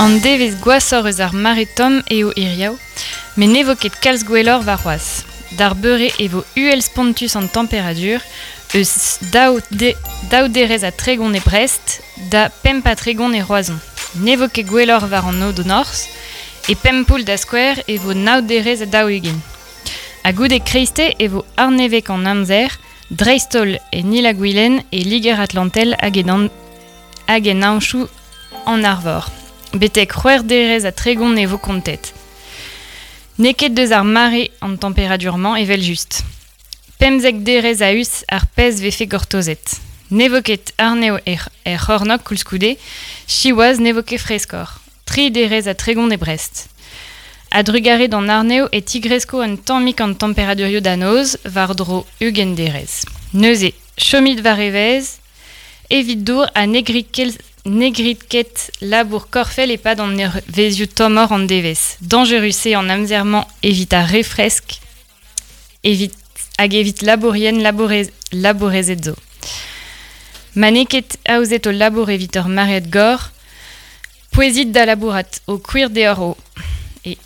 An devezh gwashoc'h eus ar mare tomm eo hiziv, met ne vo ket kalz gwelloc'h warc'hoazh. D'ar beure e vo uhel-spontus an temperadur, eus daou, de, daou derez ha 30 e Brest da 35 e Roazhon. Ne vo ket gwelloc'h war an aod norzh, e Pempoull da skouer e vo nav derez ha 40. Ha goude kreiste e vo arnevek an amzer, dreist-holl en Il-ha-Gwilen, e Liger-Atlantel hag en, hag en Aochou an Arvor. Betek c'hwec'h derez ha 30 e vo kontet. N'eo ket deus ar mare an temperadur-mañ evel-just. 15 derez a-us ar pezh vefe gortozet. Ne vo ket arnev er, er c'hornôg koulskoude, siwazh ne vo ket freskoc'h. Tri derez ha 30 e Brest. A-drugarez d'an arnev e tigresko un tammig an temperadurioù da noz war-dro 20 derez. Neuze, chomit war evezh, evit dour ha ne grit ket, ne grit ket labour korfel e-pad an eurvezhioù tommoc'h an devezh. Dañjerus eo an amzer-mañ evit ar re fresk evit, hag evit labourien labourez, labourezed zo. Ma n'eo ket aozet ho labour evit ur maread gor, pouezit da labourat, ho kwir deoc'h eo. E.